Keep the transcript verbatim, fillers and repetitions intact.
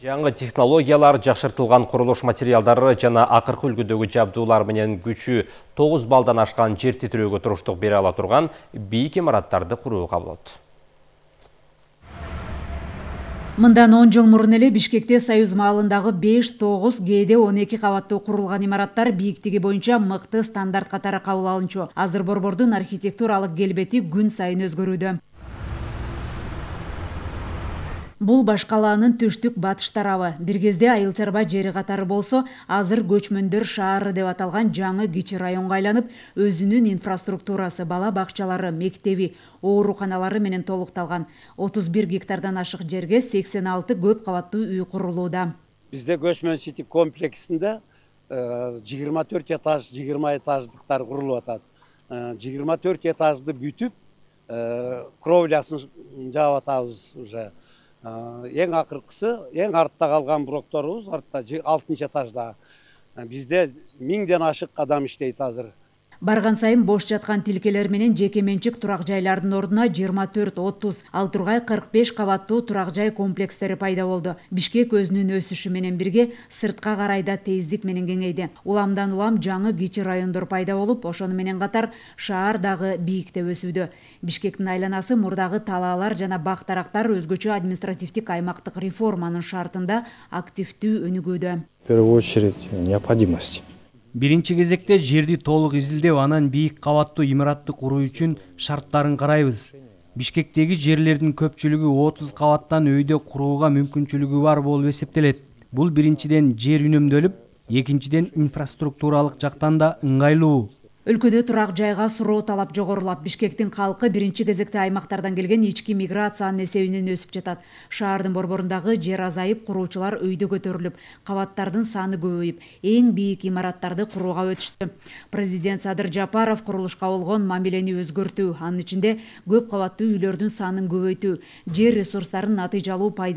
Жаңы технологиялар, жакшыртылган курулуш материалдары жана акыркы үлгүдөгү жабдуулар менен күчү тогуз балдан ашкан жер титирөөгө туруштук бере ала турган бийик имараттарды курууга болот. Мындан он жыл мурун эле Бишкекте Союз маалындагы беш, тогуз, кээде он эки кабаттуу курулган имараттар бийиктиги боюнча мыкты стандарт катары кабыл алынчу. Азыр борбордун архитектуралык келбети күн сайын өзгөрүүдө. Бул баш калаанын түштүк батыш тарабы. Бир кезде Айыл Чарба жери катары болсо, азыр көчмөндөр шаары деп аталган жаңы кичи районго айланып, өзүнүн инфраструктурасы, бала бакчалары, мектеби, ооруканалары менен толукталган. отуз бир гектардан ашык жерге сексен алты көп кабаттуу үй курулууда. Бизде Көчмөн Сити комплексинде жыйырма төрт этаж, жыйырма этаждыктар курулуп атат. жыйырма төрт этажды бүтүп, кровлясын жаап атабыз уже. Эң акыркысы, эң артта калган блокторубуз, артта алтынчы этажда. Бизде миңден ашык адам иштейт азыр. Барган сайын бош жаткан тилкелер менен жеке менчик турак жайлардын ордуна жыйырма төрт, отуз, ал тургай кырк беш кабаттуу турак жай комплекстери пайда болду. Бишкек өзүнүн өсүшү менен бирге сыртка карай да тездик менен кеңейди. Уламдан улам жаңы кичи райондор пайда болуп, ошону менен катар шаар дагы бийикте өсүүдө. Бишкектин айланасы мурдагы талаалар жана бак-дарактар өзгөчө административдик аймактык реформанын шартында активдүү өнүгүүдө. В первую очередь необходимость. Биринчи кезекте жерди толук изилдеп, анан бийик кабаттуу имаратты куруу үчүн шарттарын карайбыз. Бишкектеги жерлердин көпчүлүгү отуз кабаттан өйдө курууга мүмкүнчүлүгү бар болуп эсептелет. Бул биринчиден жер үнөмдөлүп, экинчиден инфраструктуралык жактан да ыңгайлуу. Өлкөдө турак жайга суроо талап жогорулап, Бишкектин калкы биринчи кезекте аймактардан келген ички миграциянын эсебинен өсүп жатат. Шаардын борборундагы жер азайып, куруучулар өйдө көтөрүлүп, кабаттардын саны көбөйүп, эң бийик имараттарды курууга өтүштү. Президент Садыр Жапаров курулушка болгон мамилени өзгөртүү, анын ичинде көп кабаттуу үйлөрдүн санын көбөйтүү, жер ресурстарын натыйжалуу пайдалануу